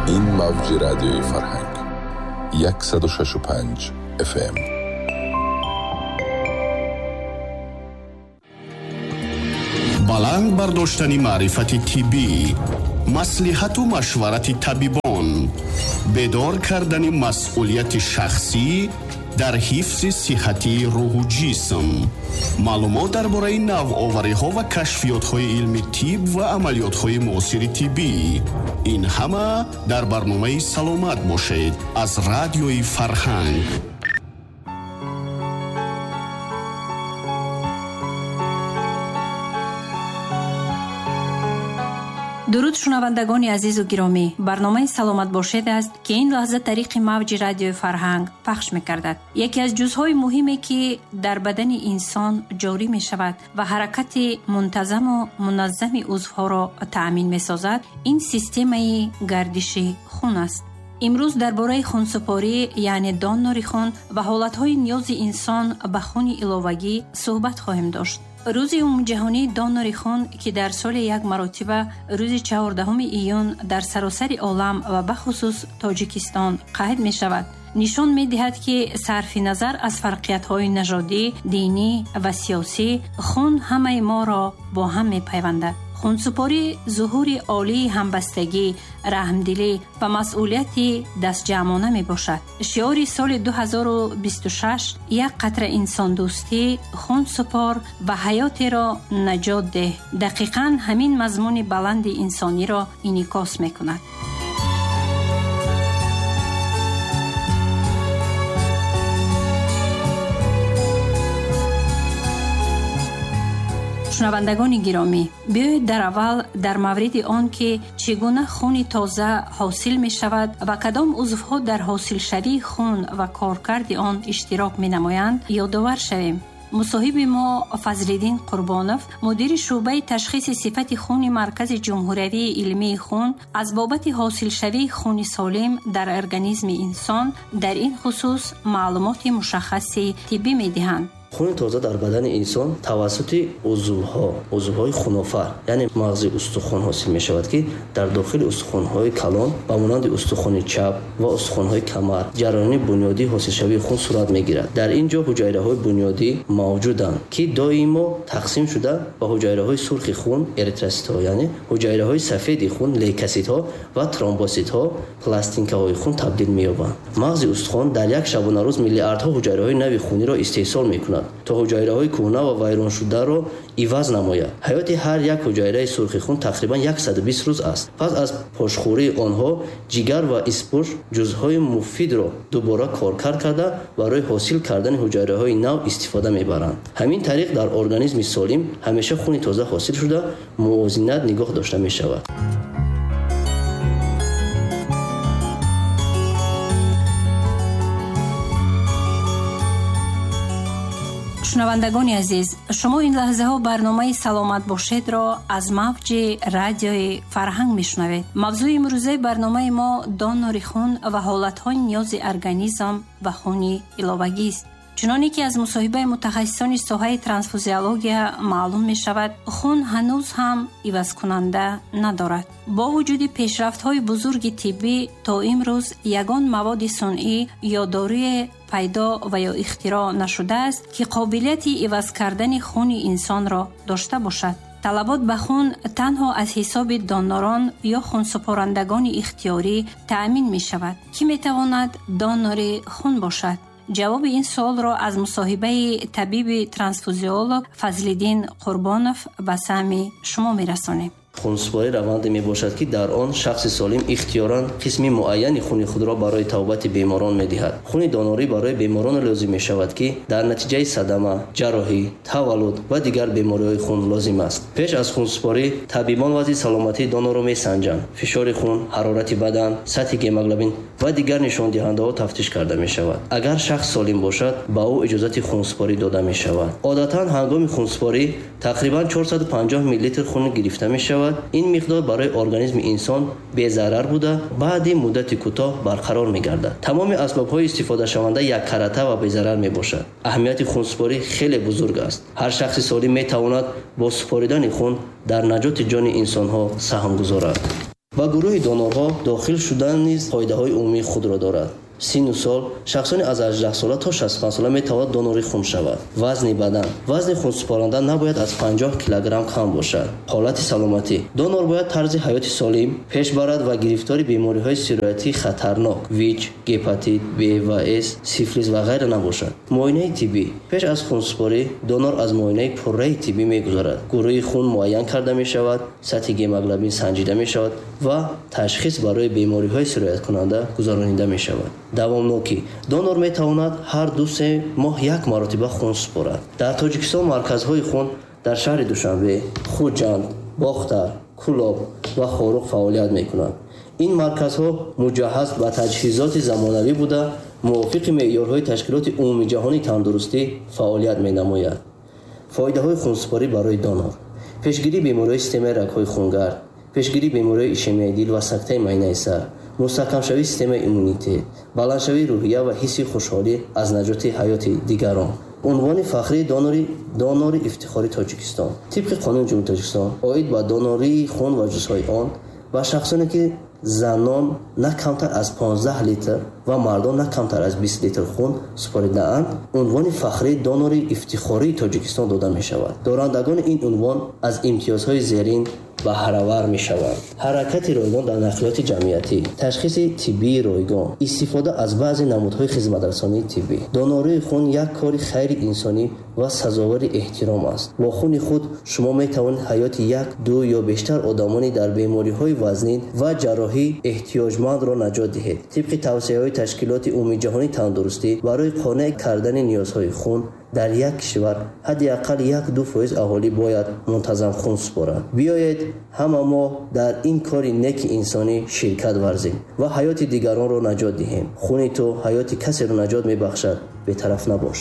Ин мавҷи радиои Фарҳанг 106.5 FM. Баланд бардоштани маърифати тиббӣ, маслиҳату машварати табибон, бедор кардани масъулияти шахсӣ дар ҳифзи сиҳатии рӯҳу ҷисм, маълумот дар бораи навовариҳо ва кашфиётҳои илми тиб ва амалиётҳои муосири тиббӣ. Ин ҳама дар барномаи «Саломат бошед» аз радиои Фарҳанг. Дуруд, шунавандагони азизу гиромӣ! Барномаи «Саломат бошед» аст, ки ин лаҳза тариқи мавҷи радиои Фарҳанг пахш мекардад. Яке аз ҷузъҳои муҳиме, ки дар бадани инсон ҷорӣ мешавад ва ҳаракати мунтазаму муназзами узвҳоро таъмин месозад, ин системаи гардиши хун аст. Имрӯз дар бораи хунсупорӣ, яъне донори хун ва ҳолатҳои ниёзи инсон ба хуни иловагӣ суҳбат хоҳем дошт. Рӯзи умумиҷаҳонии донори хун, ки дар соли як маротиба рӯзи 14 июн дар саросари олам ва бахусус Тоҷикистон қайд мешавад, нишон медиҳад, ки сарфи назар аз фарқиятҳои нажодӣ, динӣ ва сиёсӣ, хун ҳамаи моро бо ҳам мепайвандад. Хунсупорӣ зуҳури олии ҳамбастагӣ, раҳмдилӣ ва масъулияти дастҷамъона мебошад. Шиори соли 2026 «Як қатра инсондӯстӣ, хун супор ва ҳаётеро наҷот деҳ» дақиқан ҳамин мазмуни баланди инсониро инъикос мекунад. Шунавандагони гиромӣ, биёед дар аввал дар мавриди он, ки чӣ гуна хуни тоза ҳосил мешавад ва кадом узвҳо дар ҳосилшавии хун ва коркарди он иштирок менамоянд, ёдовар шавем. Мусоҳиби мо Фазлиддин Қурбонов, мудири шӯъбаи ташхиси сифати хуни Маркази ҷумҳуриявии илмии хун, аз бобати ҳосилшавии хуни солим дар организми инсон дар ин хусус маълумоти мушаххаси тиббӣ медиҳанд. Хуни тоза дар бадани инсон тавассути узвҳо, узвҳои хунофар, яъне мағзи устухон ҳосил мешавад, ки дар дохили устухонҳои калон ба монанди устухони чап ва устухонҳои камар ҷараёни бунёдии ҳосилшавии хун сурат мегирад. Дар ин ҷо ҳуҷайраҳои бунёдӣ мавҷуданд, ки доимо тақсим шуда ба ҳуҷайраҳои сурхи хун, эритроситҳо, яъне ҳуҷайраҳои сафеди хун, лейкоситҳо ва тромбоситҳо, пластинкаҳои хун табдил меёбанд. Мағзи устухон дар як шабонарӯз миллиардҳо ҳуҷайраҳои нави хуниро истеҳсол мекунад, то ҳуҷайраҳои кӯҳна ва вайроншударо иваз намояд. Ҳаёти ҳар як ҳуҷайраи сурхи хун тақрибан 120 рӯз аст. Пас аз пошхӯрии онҳо ҷигар ва испуш ҷузъҳои муфидро дубора коркард карда, барои ҳосил кардани ҳуҷайраҳои нав истифода мебаранд. Ҳамин тариқ дар организми солим ҳамеша хуни тоза ҳосил шуда, мувозинат нигоҳ дошта мешавад. Шунавандагони азиз, шумо ин лаҳзаҳо барномаи «Саломат бошедро» аз мавҷи радиои Фарҳанг мешунавед. Мавзӯи имрӯзаи барномаи мо донори хун ва ҳолатҳои ниёзи организм ба хуни иловагист. Чуноне ки аз мусоҳибаи мутахассисони соҳаи трансфузиология маълум мешавад, хун ҳанӯз ҳам ивазкунанда надорад. Бо вуҷуди пешрафтҳои бузурги тиббӣ, то имрӯз ягон маводи сунъӣ ё доруе пайдо ва ё ихтироъ нашудааст, ки қобилияти иваз кардани хуни инсонро дошта бошад. Талабот ба хун танҳо аз ҳисоби донорон ё хунсупорандагони ихтиёрӣ таъмин мешавад. Кӣ метавонад донори хун бошад? Ҷавоби ин суолро аз мусоҳибаи табиби трансфузиолог Фазлиддин Қурбонов ба саҳми шумо мерасонем. Хунсупорӣ раванде мебошад, ки дар он шахси солим ихтиёран қисми муайяни хуни худро барои табобати беморон медиҳад. Хуни донорӣ барои беморон лозим мешавад, ки дар натиҷаи садама, ҷарроҳӣ, таваллуд ва дигар бемориҳои хун лозим аст. Пеш аз хунсупорӣ табибон вазъи саломатии донорро месанҷанд. Фишори хун, ҳарорати бадан, сатҳи гемоглобин ва дигар нишондиҳандаҳо тафтиш карда мешавад. Агар шахс солим бошад, ба ӯ иҷозати хунсупорӣ дода мешавад. Одатан ҳангоми хунсупорӣ тақрибан 450 миллилитр хун гирифта мешавад. Ин миқдор барои организми инсон безарар буда, баъди муддати кӯтоҳ барқарор мегардад. Тамоми асбобҳои истифодашаванда яккарата ва безарар мебошад. Аҳамияти хунсупорӣ хеле бузург аст. Ҳар шахси солим метавонад бо супоридани хун дар наҷоти ҷони инсонҳо саҳм гузорад. Ба гурӯҳи донорҳо дохил шудан низ қоидаҳои умумии худро дорад. Синну сол: шахсони аз 18 сола то 65 сола метавонад донори хун шавад. Вазни бадан: вазни хунсупоранда набояд аз 50 килограмм кам бошад. Ҳолати саломатӣ: донор бояд тарзи ҳаёти солим пеш барад ва гирифтори бемориҳои сироятии хатарнок ВИЧ, гепатит Б ва С, сифилис ва ғайра набошад. Муоинаи тиббӣ: пеш аз хунсупорӣ донор аз муоинаи пурраи тиббӣ мегузарад. Гурӯҳи хун муайян карда мешавад, сатҳи гемоглобин санҷида мешавад ва ташхис барои бемориҳои сирояткунанда гузаронида мешавад. Давомнокӣ: донор метавонад ҳар 2-3 моҳ як маротиба хун супорад. Дар Тоҷикистон марказҳои хун дар шаҳри Душанбе, Хуҷанд, Бохтар, Кӯлоб ва Хоруғ фаъолият мекунанд. Ин марказҳо муҷаҳҳаз ба таҷҳизоти замонавӣ буда, мувофиқи меъёрҳои Ташкилоти Умумиҷаҳонии тандурустӣ фаъолият менамояд. Фоидаҳои хунсупорӣ барои донор: пешгирии бемориҳои системаи рагҳои хунгард, пешгирии бемориҳои ишемияи дил ва сактаи майнаи сар, мустаҳкамшавии системаи иммунитет, баландшавии рӯҳия ва ҳисси хушҳолӣ аз наҷоти ҳаёти дигарон. Унвони фахрии донори ифтихори Тоҷикистон. Тибқи қонуни Ҷумҳурии Тоҷикистон оид ба донории хун ва ҷузъҳои он ба шахсоне ки занон на камтар аз 15 литр ва мардон на камтар аз 20 литр хун супоридаанд, унвони фахрии донори ифтихории Тоҷикистон дода мешавад. Дорандагони ин унвон аз имтиёзҳои зерин баҳравар мешаванд: ҳаракати ройгон дар нақлиёти ҷамъиятӣ, ташхиси тиббии ройгон, истифода аз баъзе намудҳои хизматрасонии тиббӣ. Донории хун як кори хайри инсонӣ ва сазовори эҳтиром аст. Бо хуни худ шумо метавонед ҳаёти як, ду ё бештар одамони дар бемориҳои вазнин ва ҷарроҳӣ эҳтиёҷмандро наҷот диҳед. Тибқи тавсияҳои Ташкилоти Умумиҷаҳонии тандурустӣ барои қонеъ кардани ниёзҳои хун дар як кишвар ҳадди ақал 1-2% аҳолӣ бояд мунтазам хун супорад. Биёед ҳама мо дар ин кори неки инсонӣ ширкат варзем ва ҳаёти дигаронро наҷот диҳем. Хуни ту ҳаёти касеро наҷот мебахшад. Бетараф набош.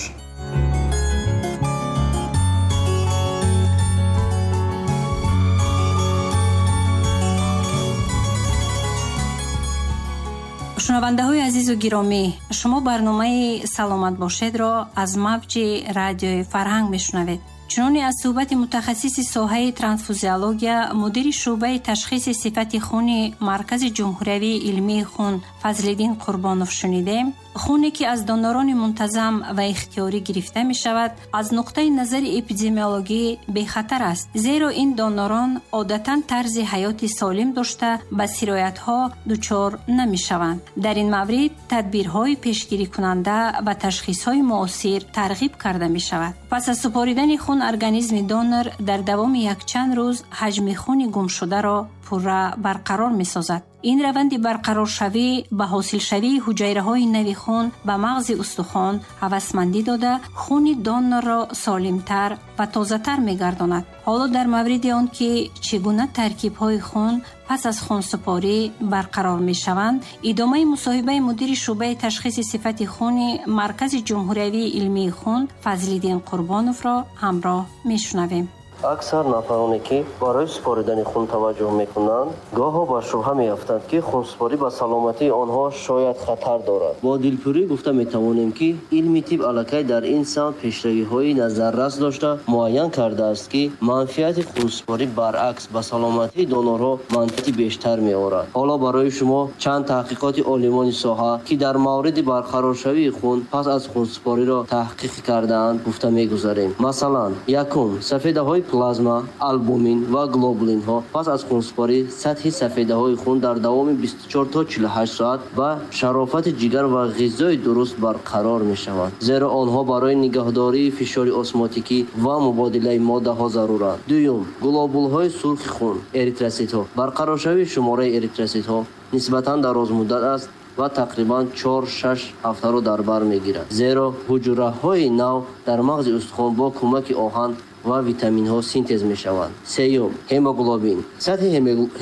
Шунавандаҳои азизу гиромӣ, шумо барномаи «Саломат бошед»-ро аз мавҷи радиои Фарҳанг мешунавед. Чуноне аз суҳбати мутахассиси соҳаи трансфузиология, мудири шӯъбаи ташхиси сифати хуни Маркази ҷумҳуриявии илмии хун Фазлиддин Қурбонов шунидем, хуне ки аз донорони мунтазам ва ихтиёрӣ гирифта мешавад, аз нуқтаи назари эпидемиологӣ бехатар аст, зеро ин донорон одатан тарзи ҳаёти солим дошта ба сироятҳо дучор намешаванд. Дар ин маврид тадбирҳои пешгирикунанда ва ташхисҳои муосир тарғиб карда мешавад. Пас аз супоридани хун организми донор дар давоми якчанд рӯз ҳаҷми хуни гумшударо пурра барқарор месозад. Ин раванди барқароршавӣ ба ҳосилшавии ҳуҷайраҳои нави хун ба мағзи устухон ҳавасмандӣ дода, хуни донорро солимтар ва тозатар мегардонад. Ҳоло дар мавриди он ки чӣ гуна таркибҳои хун пас аз хунсупорӣ барқарор мешаванд, идомаи мусоҳибаи мудири шӯъбаи ташхиси сифати хуни Маркази ҷумҳуриявии илмии хун Фазлиддин Қурбоновро ҳамроҳ мешунавем. Аксар нафароне ки барои супоридани хун таваҷҷӯҳ мекунанд, гоҳо ба шубҳа меафтанд, ки хунсупорӣ ба саломатии онҳо шояд хатар дорад. Бо дилпурӣ гуфта метавонем, ки илми тиб аллакай дар ин самт пешравиҳои назаррас дошта муайян кардааст, ки манфиати хунсупорӣ баръакс ба саломатии донорҳо манфиати бештар меорад. Ҳоло барои шумо чанд таҳқиқоти олимони соҳа, ки дар мавриди барқароршавии хун пас аз хунсупориро таҳқиқ кардаанд, гуфта мегузарем. Масалан, якум, сафедаҳои плазма, албумин ва глобулинҳо пас аз хунсупорӣ сатҳи сафедаҳои хун дар давоми 24 то 48 соат ба шарофати ҷигар ва ғизои дуруст барқарор мешаванд, зеро онҳо барои нигаҳдории фишори осмотикӣ ва мубодилаи моддаҳо заруранд. Дуюм, глобулҳои сурхи хун, эритроситҳо. Барқароршавии шумораи эритроситҳо нисбатан дарозмуддат аст ва тақрибан 4-6 ҳафтаро дар бар мегирад, зеро ҳуҷраҳои нав дар мағзи устухон бо кӯмаки оҳан ва витаминҳо синтез мешаванд. Сеюм, ҳемоглобин. Сатҳи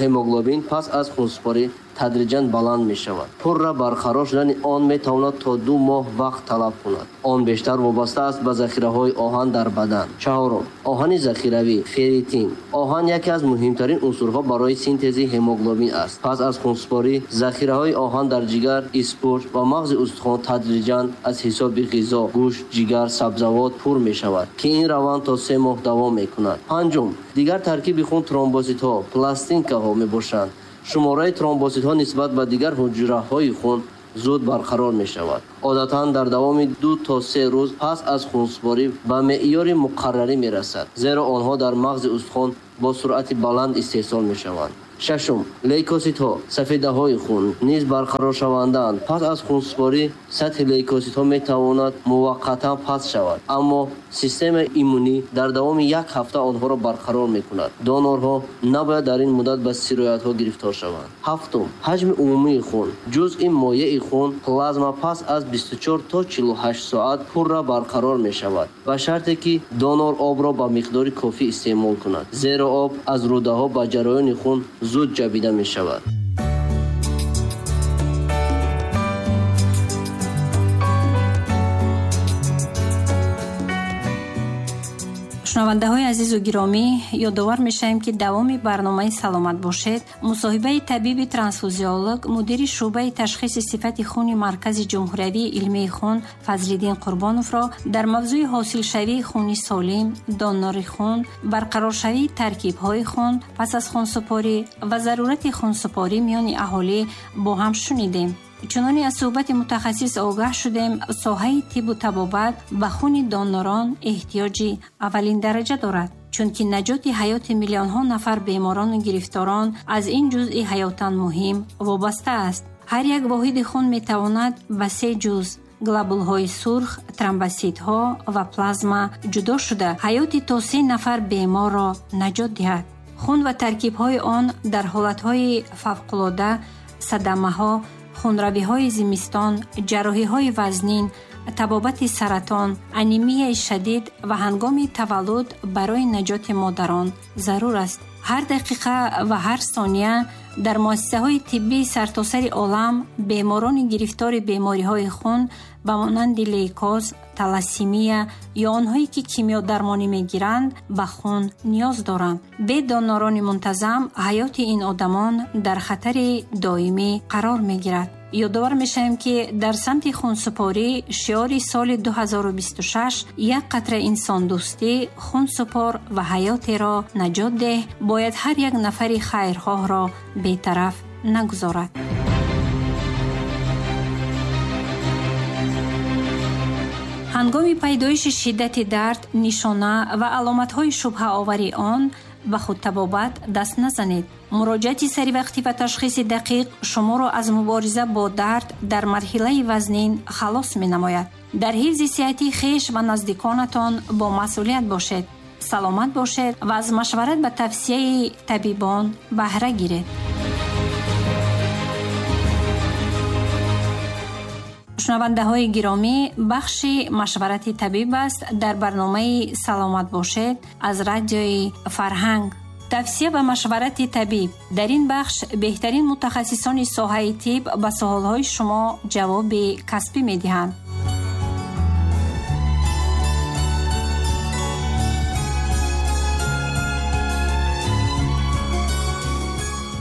ҳемоглобин пас аз хунсупорӣ тадриҷан баланд мешавад. Пурра барқарор шудани он метавонад то 2 моҳ вақт талаб кунад. Он бештар вобаста аст ба захираҳои оҳан дар бадан. Чаҳорум, оҳани захиравӣ, ферритин. Оҳан яке аз муҳимтарин унсурҳо барои синтези ҳемоглобин аст. Пас аз хунсупорӣ захираҳои оҳан дар ҷигар, испурҷ ва мағзи устухон тадриҷан аз ҳисоби ғизо, гӯшт, ҷигар, сабзавот пур мешавад, ки ин раванд то 3 моҳ давом мекунад. Панҷум, дигар таркиби хун тромбоситҳо, пластинкаҳо мебошанд. Шумораи тромбоситҳо нисбат ба дигар ҳуҷраҳои хун зуд барқарор мешавад. Одатан дар давоми 2 то 3 рӯз пас аз хунсупорӣ ба меъёри муқаррарӣ мерасад, зеро онҳо дар мағзи устухон бо суръати баланд истеҳсол мешаванд. Шашум, лейкоситҳо, сафедаҳои хун низ барқароршавандаанд. Пас аз хунсупорӣ сатҳи лейкоситҳо метавонад муваққатан паст шавад, аммо системаи иммунӣ дар давоми як ҳафта онҳоро барқарор мекунад. Донорҳо набояд дар ин муддат ба сироятҳо гирифтор шаванд. Ҳафтум, ҳаҷми умумии хун. Ҷузъи моеи хун плазма пас аз 24 то 48 соат пурра барқарор мешавад, ба шарте ки донор обро ба миқдори кофӣ истеъмол кунад, зеро об аз рӯдаҳо ба ҷараёни хун зуд ҷабида мешавад. Шунавандаҳои азизу гиромӣ, ёдовар мешавем, ки давоми барномаи «Саломат бошед» мусоҳибаи табиби трансфузиолог, мудири шӯъбаи ташхиси сифати хуни Маркази ҷумҳуриявии илмии хун Фазлиддин Қурбоновро дар мавзӯи ҳосилшавии хуни солим, донори хун, барқароршавии таркибҳои хун пас аз хунсупорӣ ва зарурати хунсупорӣ миёни аҳолӣ бо ҳам шунидем. Чуноне аз суҳбати мутахассис огаҳ шудем, соҳаи тиббу табобат ба хуни донорон эҳтиёҷи аввалин дараҷа дорад, чунки наҷоти ҳаёти миллионҳо нафар беморону гирифторон аз ин ҷузъи ҳаётан муҳим вобаста аст. Ҳар як воҳиди хун метавонад ба се ҷузъ глобулҳои сурх, тромбоситҳо ва плазма ҷудо шуда ҳаёти то 3 нафар беморро наҷот диҳад. Хун ва таркибҳои он дар ҳолатҳои фавқулода, садамаҳо, хунравиҳои зимистон, ҷарроҳиҳои вазнин, табобати саратон, анемияи шадид ва ҳангоми таваллуд барои наҷоти модарон зарур аст. Ҳар дақиқа ва ҳар сония дар муассисаҳои тиббии сартосари олам беморони гирифтори бемориҳои хун ба монанди лейкоз, талассемия ё онҳое ки кимиёдармонӣ мегиранд ба хун ниёз доранд. Бе донорони мунтазам ҳаёти ин одамон дар хатари доимӣ қарор мегирад. Ёдовар мешавем, ки дар самти хунсупорӣ шиори соли 2026 «Як қатра инсондӯстӣ, хунсупор ва ҳаётеро наҷот деҳ» бояд ҳар як нафари хайрхоҳро бетараф нагузорад. Ҳангоми пайдоиши шиддати дард, нишона ва аломатҳои шубҳаовари он ба худтабобат даст назанед. Муроҷиати саривақтӣ ва ташхиси дақиқ шуморо аз мубориза бо дард дар марҳилаи вазнин халос менамояд. Дар ҳифзи сиҳатии хеш ва наздиконатон бо масъулият бошед, саломат бошед ва аз машварат ба тавсияи табибон баҳра гиред. Шунавандаҳои гиромӣ, бахши машварати табиб аст дар барномаи «Саломат бошед» аз радиои Фарҳанг. Тавсия ба машварати табиб. Дар ин бахш беҳтарин мутахассисони соҳаи тиб ба суолҳои шумо ҷавоби касбӣ медиҳанд.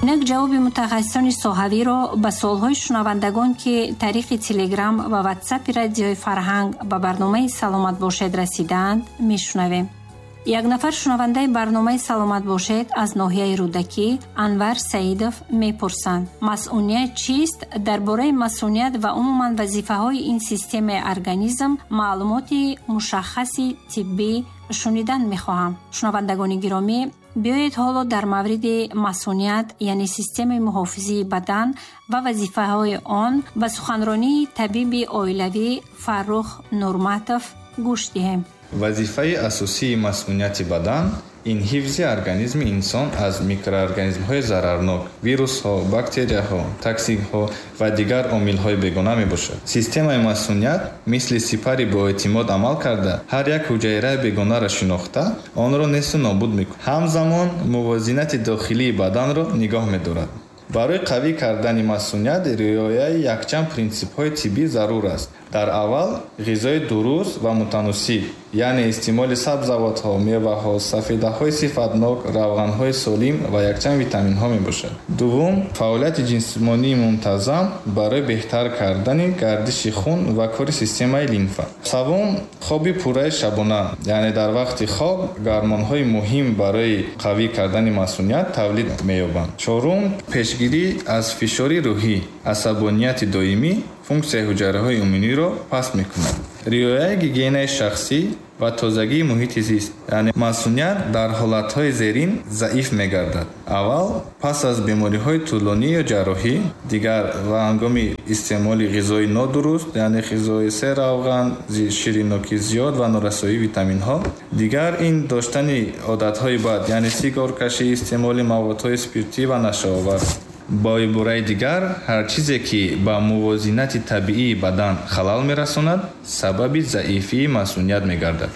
Инак ҷавоби мутахассисони соҳавиро ба суолҳои шунавандагон, ки тариқи Телеграм ва Ватсапи радиои Фарҳанг ба барномаи «Саломат бошед» расидаанд, мешунавем. Як нафар шунавандаи барномаи «Саломат бошед» аз ноҳияи Рӯдакӣ Анвар Саидов мепурсанд: масъуният чист? Дар бораи масъуният ва умуман вазифаҳои ин системаи организм маълумоти мушаххаси тиббӣ шунидан мехоҳам. Шунавандагони гиромӣ, биёед ҳоло дар мавриди масъуният, яъне системаи муҳофизии бадан ва вазифаҳои он ба суханронии табиби оилавӣ Фаррух Нурматов гӯш диҳем. Вазифаи асосии масъунияти бадан ин ҳифзи организми инсон аз микроорганизмҳои зарарнок, вирусҳо, бактерияҳо, токсинҳо ва дигар омилҳои бегона мебошад. Системаи масъуният мисли сипари боэътимод амал карда, ҳар як ҳуҷайраи бегонаро шинохта, онро несту нобуд мекунад. Ҳамзамон мувозинати дохилии баданро нигоҳ медорад. Барои қавӣ кардани масъуният риояи якчанд принсипҳои тиббӣ зарур аст. Дар аввал ғизои дуруст ва мутаносиб, яъне истеъмоли сабзавотҳо, меваҳо, сафедаҳои сифатнок, равғанҳои солим ва якчанд витаминҳо мебошад. Дуввум, фаъолияти ҷисмонии мунтазам барои беҳтар кардани гардиши хун ва кори системаи лимфа. Севум, хоби пурраи шабона, яъне дар вақти хоб гармонҳои муҳим барои қавӣ кардани масъуният тавлид меёбанд. Чорум, пешгирӣ Пешгирӣ аз фишори рӯҳӣ, асабонияти доимӣ функсияи ҳуҷайраҳои иммуниро паст мекунад. Риояи гигиенаи шахсӣ ва тозагии муҳити зист, яъне масуният дар ҳолатҳои зерин заиф мегардад. Аввал, пас аз бемориҳои тӯлонӣ ё ҷарроҳӣ, дигар ва ҳангоми истеъмоли ғизои нодуруст, яъне ғизои серравған, ширинокӣ зиёд ва норасоии витаминҳо. Дигар ин доштани одатҳои бад, яъне сигоркашӣ, истеъмоли маводҳои спиртӣ ва нашъаовар. Бо ибораи дигар, ҳар чизе ки ба мувозинати табиии бадан халал мерасонад, сабаби заифии масуният мегардад.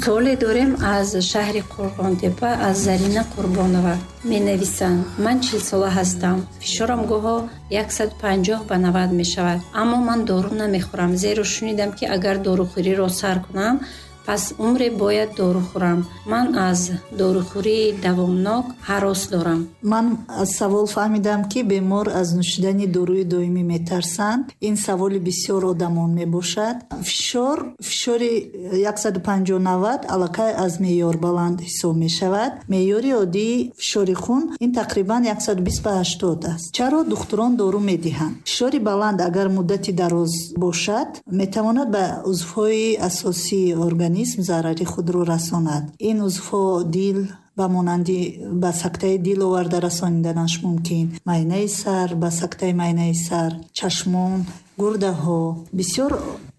Суоле дорем аз шаҳри Қурғонтепа аз Зарина Қурбонова. Менависанд: ман 40-сола ҳастам. Фишорам гоҳо 150 ба 90 мешавад. Аммо ман дору намехӯрам, зеро шунидам, ки агар дорухӯриро сар кунам, пас умре бояд дору хӯрам. Ман аз дорухӯрии давомнок ҳарос дорам. Ман аз савол фаҳмидам, ки бемор аз нӯшидани доруи доимӣ метарсанд. Ин саволи бисёр одамон мебошад. Фишори 150/90 аллакай аз меъёр баланд ҳисоб мешавад. Меъёри оддии фишори хун ин тақрибан 120 ба 80 аст. Чаро духтурон дору медиҳанд? Фишори баланд агар муддати дароз бошад, метавонад ба узвҳои асосии организм зарари худро расонад. Ин узвҳо дил, ба монанди ба сактаи дил оварда расониданаш мумкин, майнаи сар, ба сактаи майнаи сар, чашмон, гурдаҳо. Бисёр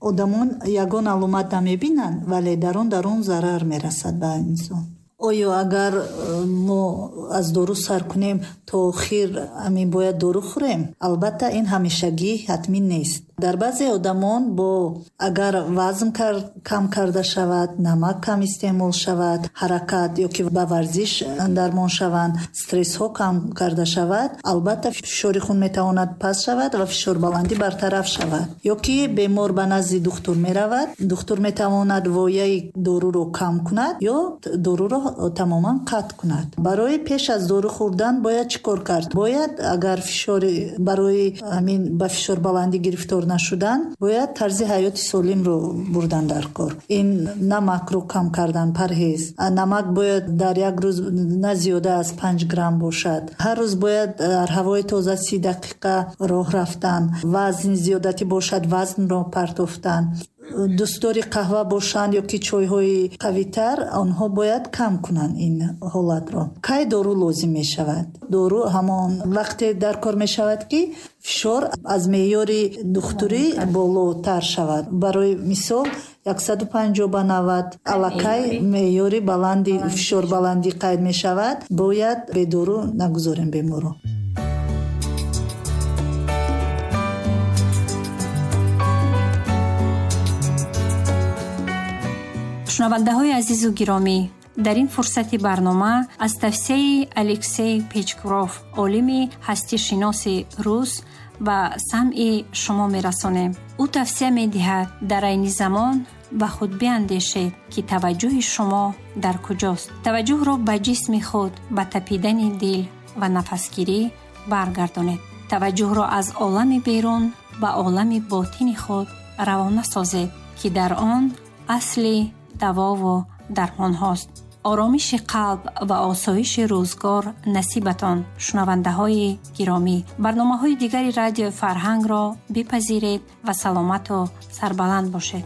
одамон ягон аломат намебинанд, вале дар он дарун зарар мерасад ба инсон. Оё агар мо аз дору сар кунем, то охир ҳамин бояд дору хӯрем? Албатта, ин ҳамешагӣ ҳатмӣ нест. Дар баъзе одамон бо агар вазн кам карда шавад, намак кам истеъмол шавад, ҳаракат ё ки ба варзиш дармон шаванд, стрессҳо кам карда шавад, албатта, фишори хун метавонад паст шавад ва фишорбаландӣ бартараф шавад. Ё ки бемор ба назди духтур меравад, духтур метавонад вояи доруро кам кунад ё доруро тамоман қатъ кунад. Барои пеш аз дору хӯрдан бояд чӣ кор кард? Бояд агар фишори барои ҳамин ба фишорбаландӣ гирифтор нашудан, бояд тарзи ҳаёти солимро бурдан дар кор. Ин намакро кам кардан, парҳез. Намак бояд дар як рӯз на зиёда аз 5 грамм бошад. Ҳар рӯз бояд дар ҳавои тоза 30 дақиқа роҳ рафтан. Вазн зиёдатӣ бошад, вазнро партофтан. Дӯстдори қаҳва бошанд ё ки чойҳои қавитар, онҳо бояд кам кунанд ин ҳолатро. Кай дору лозим мешавад? Дору ҳамон вақте дар кор мешавад, ки фишор аз меъёри духтурӣ болотар шавад. Барои мисол, 150 ба 90 аллакай меъёри баланди фишорбаландӣ қайд мешавад. Бояд бедору нагузорем беморро. Шунавандаҳои азизу гиромӣ, дар ин фурсати барнома аз тавсияи Алексей Печкуров, олими ҳастишиноси рус, ба самъи шумо мерасонем. Ӯ тавсия медиҳад: дар айни замон ба худ биандешед, ки таваҷҷӯҳи шумо дар куҷост. Таваҷҷӯҳро ба ҷисми худ, ба тапидани дил ва нафасгирӣ баргардонед. Таваҷҷӯҳро аз олами берун ба олами ботини худ равона созед, ки дар он асли давову дармонҳост. Оромиши қалб ва осоиши рӯзгор насибатон, шунавандаҳои гиромӣ. Барномаҳои дигари Радиои Фарҳангро бипазиред ва саломату сарбаланд бошед.